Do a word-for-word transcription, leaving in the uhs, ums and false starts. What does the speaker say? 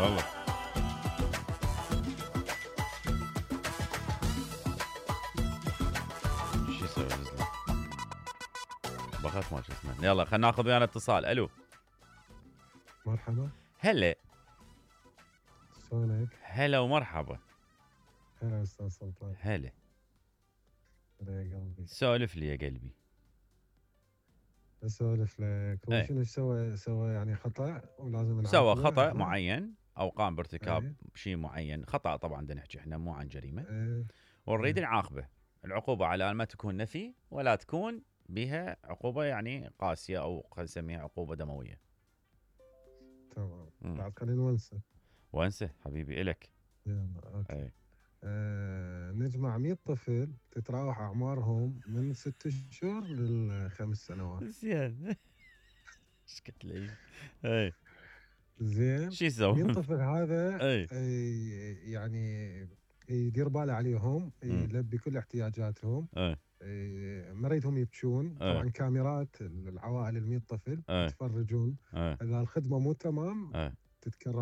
والله شو يسوي نزله بخاف ما شو اسمه. يلا خلينا ناخذ ويانا اتصال. الو مرحبا. هلا. شلونك؟ هلا ومرحبا. هلا استاذ سلطان. هلا. هلا يا قلبي. سولف لي يا قلبي. اسولف لك. هو ايه. شنو سوى سوى يعني خطا ولازم سوى نعاقبه؟ خطأ ها؟ معين او قام بارتكاب ايه شيء معين، خطأ طبعا بدنا نحكي احنا مو عن جريمة، ايه ونريد ايه نعاقبه. العقوبة على ان ما تكون نفي ولا تكون بها عقوبة يعني قاسية او خلينا نسميها عقوبة دموية. تمام. مم. بعد خلينا نونسه. وانسه حبيبي الك. يلا اوكي. اي. آه نجمع مية طفل تتراوح اعمارهم من ست اشهر للخمس سنوات. زين. ايش قلت لي؟ اي. زين. شو يسوي؟ مية طفل هذا اي. آه، يعني يدير باله عليهم، مم. يلبي كل احتياجاتهم. اي. إيه، ما اريدهم يبكون. اي. طبعا كاميرات العوائل ال مية طفل اي. يتفرجون. اي. اذا الخدمه مو تمام اي. تتكرر